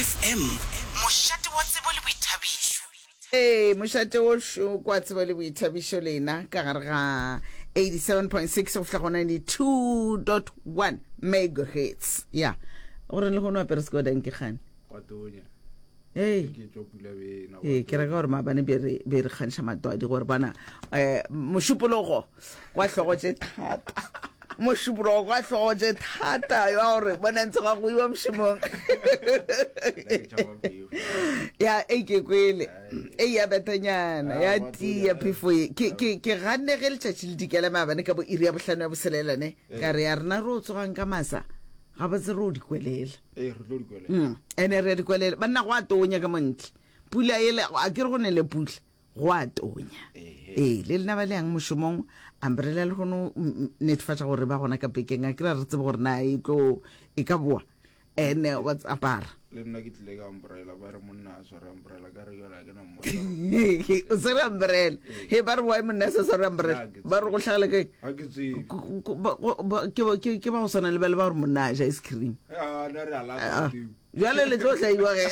FM, mošate wa tsebo le boithabišo. Ee, mošate wo šo kwa tsebo le boithabišo lena ka gare ga 87.6 go fihla go 92.1 megahertz. Ya, gore le gono apere sekodanke kgane. Gwa tonya. Ee. Ke tšwa pula bena. Ee, ke reka gore maabane be re be re kgantšha matwadi gore bana eh mošupologo kwa hlogo tše thata. Mošupologo kwa hlogo tše thata ya gore bona ntse ga go iwa mošomong. Ya e ke kwele. E ya betanyana ya tia phefo ye. Ke ke ke ganne ge letšatši le dikela maabane ka bo iri ya bohlano ya boselela ne. Ka re ya rena re o tsogang ka masa. Gabotse re o di kwelela. Ee, re tlo di kwelela. Mm, ene re a di kwelela. Banna go a tonya ka montle. Pula ele, a ke re go nele pula. Go a tonya. Ee, le lena ba le yang mošomong, umbrella le kgono netefatša gore ba gona ka pekeng. A ke ra re tsebe gore na e tlo e ka boa. Ene wa apara. Le nna ke tlile ka umbrella, ba re monna a sware umbrella, ka re jale a ke na mmona. O swere umbrella. He ba re why monna a sa sware umbrella? Ba re go hlagela kae? Ga ke tsebe. Ke ke ba go swana le ba le ba gore monna a ja ice cream. Ah, na re a lata teo. Bjale le tlo hlaiwa ge.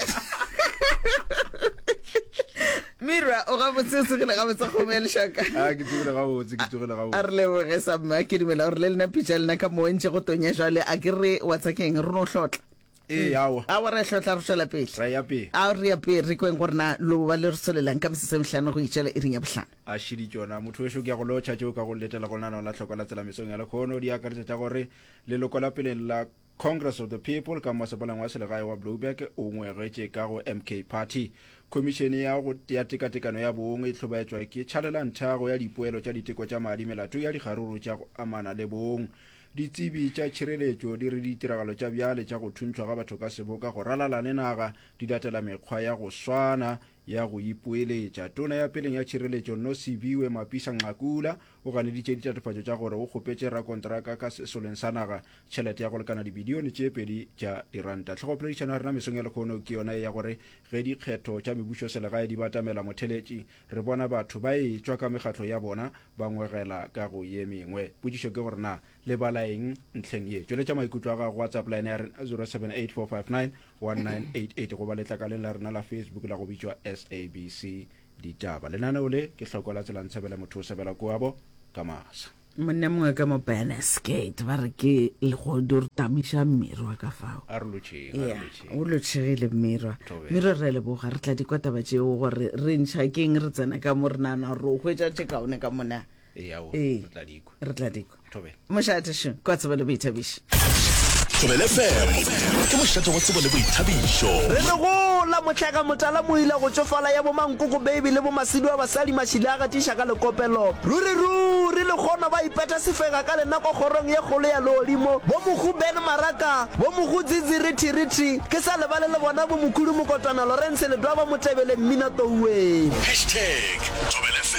Mira, o gabotse o tsogile gabotse kgomo ya lešaka. Ah, ke tsogile gabotse, ke tsogile gabotse. A re leboge sa mma, ke dumela gore le lena pitša lena ka mo ntše go tonya jwale a ke re wa tsakeng re no hlotla. Ee, aowa. Aowa re hlotla re tšwela pele. Ra ya pele. A re ya pele re kweng gore na lo ba le re solelang ka metsotso e mehlano go itšela iring ya bohlano. A šidi tšona. Motho wešo ke ya go lotšha tšeo ka go letela go lenaneo la Hlokwa la Tsela mesong ya lekhono. Di akaretša tša gore leloko la peleng la Congress of the People ka mmasepaleng wa selegae wa Blouberg o ngwegetše ka go MK Party. Khomišene ya go ya Tekatekano ya Bong e hlobaetšwa ke tšhalelanthago ya dipoelo tša diteko tša madi melato ya dikgaruru tša go amana le bong. Ditsebi tša tšhireletšo di re ditiragalo tša bjale tša go thuntšhwa ga batho ka seboka go ralala le naga di latela mekgwa ya go swana ya go ipoeletša. Tona ya peleng ya tšhireletšo Nosiviwe Mapisa-Nqakula o ganeditše ditatofatšo tša gore o kgopetše rakontraka ka sesoleng sa naga tšhelete ya go lekana dibilione tše pedi tša diranta. Hlogopoledišano ya rena mesong ya lehono ke yona ye ya gore ge dikgetho tša mebušoselegae di batamela motheletši, re bona batho ba etšwa ka mekgatlo ya bona ba ngwegela ka go ye mengwe. Potšišo ke gore na le bala eng ntlheng ye? Tšweletša maikutlo a gago WhatsApp line ya rena 0784591988 goba letlakaleng la rena la Facebook la go bitšwa SABC Ditaba. Lenaneo le ke hloko la tsela ntshebele motho o sebela koabo ka masa. Monna mongwe ka mo Bannersgate ba re ke legodu re tamiša mmirwa ka fao. A re lotšheng, a re Ya, lotšheng. o lotšhegile mmirwa. Thobela. Mmirwa re a leboga, re tla di kwa taba tšeo gore re ntšha keng re tsena ka mo re nagana gore o hwetša tše kaone ka mona. Ee, aowa, Ee. re tla di kwa. Re tla di kwa. Thobela. Mošate šo, kwa tsebo le boithabišo. Thobela FM ke mošate wa tsebo le boithabišo. Re re gola, mohlaka motala moila go tšofala ya bomankoko baby le bomasidu a basadi mašile a gatiša ka lekopelo. Ruri ruri lekgono ba ipetha sefega ka lenako kgorong ye kgolo ya leodimo. Bo mohu Ben Maraka, bo mohu Dzidzi Rithi Rithi, ke sa lebale le bona bo mokhulu Mokotwana Lawrence Ledwaba Motebele Mmina Touwe. Hashtag Thobela FM.